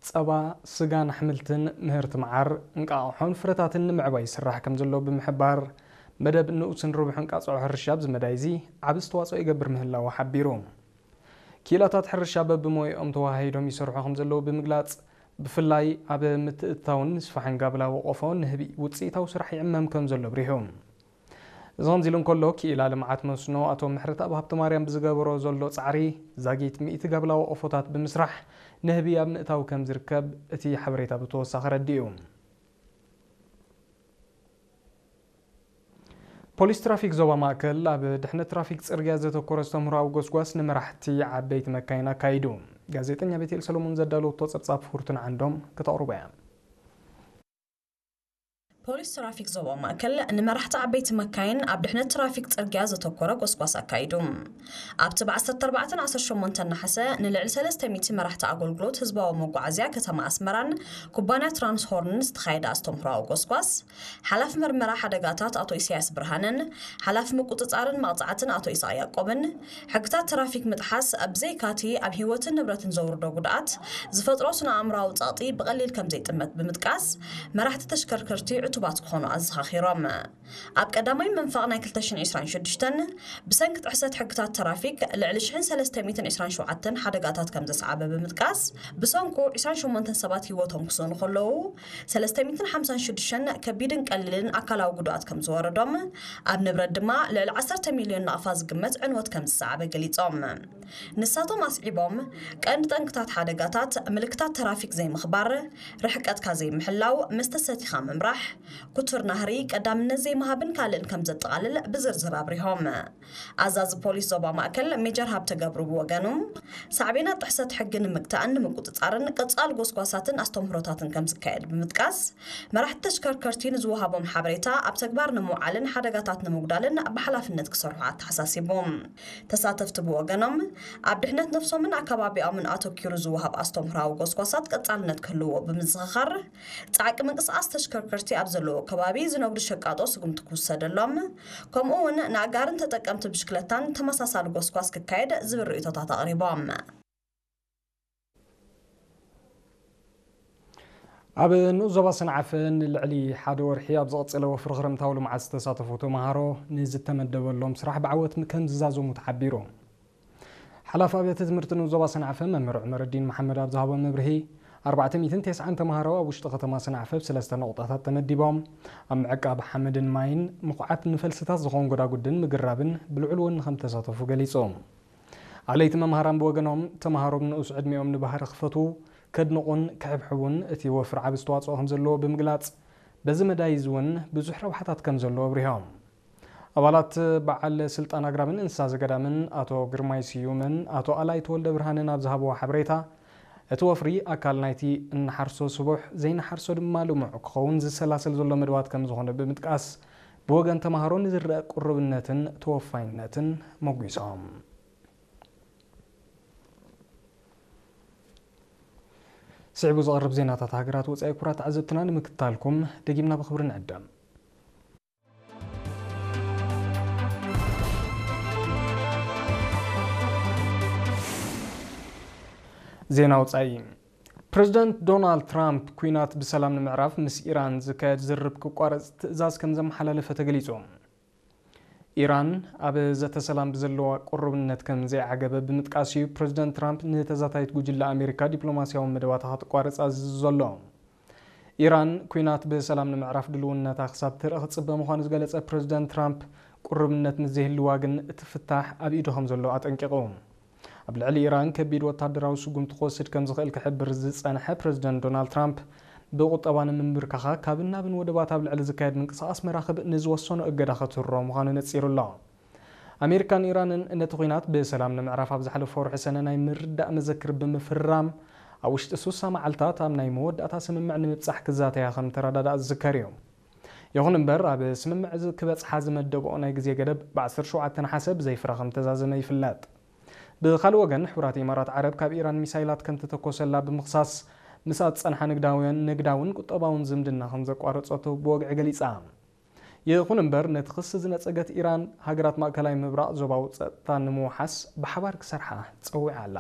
ጸባ፣ ስጋን ኣሕምልትን፣ ምህርቲ መዓር፣ እንቃቑሖን ፍረታትን ንምዕባይ ይስራሕ ከም ዘሎ ብምሕባር፣ መደብ ንኡስን ርቡሕን ቃጽዖ ሕርሻ ኣብዚ መዳይ እዚ ዓቢ ኣስተዋጽኦ ይገብር ምህላዉ ሓቢሩ። ክኢላታት ሕርሻ በብሞያኦም ተወሃሂዶም ይሰርሑ ከም ዘለዉ ብምግላጽ፣ ብፍላይ ኣብ ምትእትታውን ምስፋሕን ጋብላዊ ቆፎ ንህቢ ውጽኢታዊ ስራሕ ይዕመም ከም ዘሎ ኣብሪሁ። እዚ ከምዚ ኢሉ እንከሎ፣ ክኢላ ልምዓት መስኖ ኣቶ ምሕረተኣብ ሃብተማርያም ብዝገበሮ ዘሎ ጻዕሪ፣ ዛጊት ሚእቲ ጋብላዊ ቆፎታት ብምስራሕ ንህቢ ኣብ ምእታው ከም ዝርከብ እቲ ሓበሬታ ብተወሳኺ ኣረዲኡ። ፖሊስ ትራፊክ ዞባ ማእከል ኣብ ድሕነት ትራፊክ ጽርግያ ዘተኮረ ኣስተምህሮኣዊ ጎስጓስ ንመራሕቲ ዓበይቲ መካይን ኣካይዱ። ጋዜጠኛ ቤቴል ሰሎሞን ዘዳለወቶ ጸብጻብ ፍርቱና ዓንዶም ክተቕርቦ እያ። ፖሊስ ትራፊክ ዞባ ማእከል ንመራሕቲ ዓበይቲ መካይን ኣብ ድሕነት ትራፊክ ጽርግያ ዘተኮረ ጎስጓስ ኣካይዱ። ኣብቲ ብ ዓሰርተ ኣርባዕተ ዓሰርተ ሸሞንተ ነሓሰ ንልዕሊ ሰለስተ ሚእቲ መራሕቲ ኣገልግሎት ህዝባዊ መጓዓዝያ ከተማ ኣስመራን ኩባንያ ትራንስሆርንን ዝተኻየደ ኣስተምህሮኣዊ ጎስጓስ፣ ሓላፊ መርመራ ሓደጋታት ኣቶ ኢሳያስ ብርሃነን ሓላፊ ምቁጽጻርን መቕጻዕትን ኣቶ ኢሳቅ ያዕቆብን፣ ሕግታት ትራፊክ ምጥሓስ ብዘይካቲ ኣብ ህይወትን ንብረትን ዘውርዶ ጉድኣት ዝፈጥሮ ስነ ኣእምሮኣዊ ጸቕጢ ብቐሊል ከም ዘይጥመት ብምጥቃስ፣ መራሕቲ ተሽከርከርቲ ዕቱባት ክኾኑ ኣዘኻኺሮም። ኣብ ቀዳማይ መንፈቕ ናይ ክልተ ሽሕን ዕስራን ሽዱሽተን ብሰንኪ ጥሕሰት ሕግታት ትራፊክ ልዕሊ ሽሕን ሰለስተ ሚእትን ዕስራን ሸውዓተን ሓደጋታት ከም ዘስዓበ ብምጥቃስ፣ ብሰንኩ ዕስራን ሸሞንተን ሰባት ህይወቶም ክስእኑ ከለዉ፣ ሰለስተ ሚእትን ሓምሳን ሽዱሽተን ከቢድን ቀሊልን ኣካላዊ ጉድኣት ከም ዝወረዶም፣ ኣብ ንብረት ድማ ልዕሊ ዓሰርተ ሚልዮን ናቕፋ ዝግመት ዕንወት ከም ዝሰዓበ ገሊጾም። ንሳቶም ኣስዒቦም፣ ቀንዲ ጠንቅታት ሓደጋታት ምልክታት ትራፊክ ዘይምኽባር፣ ርሕቀትካ ዘይምሕላው፣ መስተ ሰቲኻ ምምራሕ፣ ክቱር ናህሪ፣ ቀዳምነት ዘይምሃብን ካልእን ከም ዘጠቓልል ብዝርዝር ኣብሪሆም። ኣዛዚ ፖሊስ ዞባ ማእከል ሜጀር ሃብተ ገብሩ ብወገኑ፣ ሳዕቤናት ጥሕሰት ሕጊ ንምግታእን ንምቁጽጻርን ቀጻሊ ጎስጓሳትን ኣስተምህሮታትን ከም ዝካየድ ብምጥቃስ፣ መራሕቲ ተሽከርከርቲ ንዝወሃቦም ሓበሬታ ኣብ ተግባር ንምውዓልን ሓደጋታት ንምጉዳልን ብሓላፍነት ክሰርሑ ኣተሓሳሲቡ። ተሳተፍቲ ብወገኖም፣ ኣብ ድሕነት ነፍሶምን ኣከባቢኦምን ኣተኪሩ ዝወሃብ ኣስተምህሮኣዊ ጎስጓሳት ቀጻልነት ክህልዎ ብምዝኽኻር፣ ጻዕቂ ምንቅስቓስ ተሽከርከርቲ ኣብ ዘለዎ ከባቢ ዝነግዱ ሸቃጦ ስጉምቲ ክውሰደሎም፣ ከምኡ እውን ንኣጋርን ተጠቀምቲ ብሽክለታን ተመሳሳሊ ጎስጓስ ክካየድ ዝብል ርእይቶታት ኣቕሪቦም። ኣብ ንኡስ ዞባ ሰንዓፈ ንልዕሊ ሓደ ወርሒ ኣብ ዝቐጸለ ወፍሪ ክረምታዊ ልምዓት ዝተሳተፉ ተምሃሮ ንዝተመደበሎም ስራሕ ብዓወት ከም ዝዛዘሙ ተሓቢሩ። ሓላፊ ኣብያተ ትምህርቲ ንኡስ ዞባ ሰንዓፈ መምህር ዑመረዲን መሓመድ ኣብ ዝሃቦ መብርሂ፣ ኣርባዕተ ሚእትን ተስዓን ተምሃሮ ኣብ ውሽጢ ከተማ ሰንዓፈ ብሰለስተ ነቑጣታት ተመዲቦም ኣብ ምዕቃብ ሓመድን ማይን ምኹዓት ንፈልስታት ዝኾን ጎዳጉድን ምግራብን ብልዑል ወኒ ከም ዝተሳተፉ ገሊጹ። ኣለይቲ መምሃራን ብወገኖም፣ ተምሃሮ ብንኡስ ዕድሚኦም ንባህሪ ክፈትዉ፣ ከድንቑን ክሕብሕቡን እቲ ወፍሪ ዓቢ ኣስተዋጽኦ ከም ዘለዎ ብምግላጽ፣ በዚ መዳይ እዚ እውን ብዙሕ ረብሓታት ከም ዘለዎ ኣብሪሆም። ኣባላት በዓል ስልጣን ኣግራብን እንስሳ ዘገዳምን ኣቶ ግርማይ ስዩምን ኣቶ ኣላይ ተወልደ ብርሃንን ኣብ ዝሃብዎ ሓበሬታ፣ እቲ ወፍሪ ኣካል ናይቲ እንሓርሶ ስቡሕ፣ ዘይንሓርሶ ድማ ልሙዕ ክኸውን ዝሰላሰል ዘሎ መደባት ከም ዝኾነ ብምጥቃስ፣ ብወገን ተምሃሮ ንዝረአ ቅሩብነትን ተወፋይነትን ሞጒሶም። ስዒቡ ዝቐርብ ዜናታት ሃገራት ወጻኢ ክቡራት ተዓዘብትና ንምክትታልኩም ደጊምና ብኽብሪ ንዕደም። ዜና ወጻኢ። ፕረዚደንት ዶናልድ ትራምፕ ኲናት ብሰላም ንምዕራፍ ምስ ኢራን ዝካየድ ዝርርብ ክቋረጽ ትእዛዝ ከም ዘመሓላለፈ ተገሊጹ። ኢራን ኣብ ዘተ ሰላም ብዘለዋ ቅሩብነት ከም ዘይዓገበ ብምጥቃስ እዩ ፕረዚደንት ትራምፕ ንተዛታይት ጉጅለ ኣሜሪካ ዲፕሎማስያዊ መደባታ ክትቋርጽ ኣዚዙ ዘሎ። ኢራን ኲናት ብሰላም ንምዕራፍ ድልውነታ ክሳብ ትርኢ ክጽበ ምዃኑ ዝገለጸ ፕረዚደንት ትራምፕ፣ ቅሩብነት ምስ ዘይህልዋ ግን እቲ ፍታሕ ኣብ ኢዱ ከም ዘሎ ኣጠንቂቑ። ኣብ ልዕሊ ኢራን ከቢድ ወታደራዊ ስጉምቲ ክወስድ ከም ዝኽእል ክሕብር ዝጸንሐ ፕረዚደንት ዶናልድ ትራምፕ፣ ብቁጠባ ንምንብርካኻ ካብን ናብን ወደባት ኣብ ልዕሊ ዝካየድ ምንቅስቓስ መራኽብ ንዝወሰኖ እገዳ ከትህሮ ምዃኑ ነጺሩ ኣሎ። ኣሜሪካን ኢራንን ነቲ ኲናት ብሰላም ንምዕራፍ ኣብ ዝሓለፈ ወርሒ ሰነ ናይ ምርዳእ መዘክር ብምፍርራም፣ ኣብ ውሽጢ ስሳ መዓልታት ኣብ ናይ መወዳእታ ስምምዕ ንምብጻሕ ክዛተያ ከም ተረዳድኣ ዝዝከር እዩ። ይኹን እምበር፣ ኣብ ስምምዕ እዚ ክበጽሓ ዝመደብኦ ናይ ግዜ ገደብ ብ ዓሰርተ ሸውዓተ ነሓሰ ብዘይ ፍረ ከም ተዛዘመ ይፍለጥ። ብኻልእ ወገን፣ ሕቡራት ኢማራት ዓረብ ካብ ኢራን ሚሳይላት ከም ተተኮሰላ ብምኽሳስ፣ ምስኣ ዝጸንሓ ንግዳውያን፣ ንግዳውን ቁጠባውን ዝምድና ከም ዘቋረጸቶ ብወግዒ ገሊጻ። ይኹን እምበር፣ ነቲ ክሲ ዝነጸገት ኢራን፣ ሃገራት ማእከላይ ምብራቕ ዞባዊ ጸጥታ ንምውሓስ ብሓባር ክሰርሓ ጸዊዓ ኣላ።